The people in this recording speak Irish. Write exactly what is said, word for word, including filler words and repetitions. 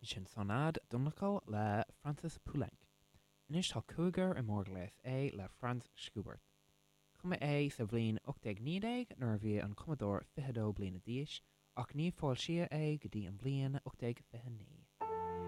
Sin Sonad Dumnacal le Francis Poulenc. Anois tá cúigear i mórghléas é le Franz Schubert. Cumadh é sa bhliain ocht déag naoi déag nuair a bhí an cumadóir fiche dó bliana d'aois ach ní foilsíodh é go dtí an bhliain ocht déag fiche naoi.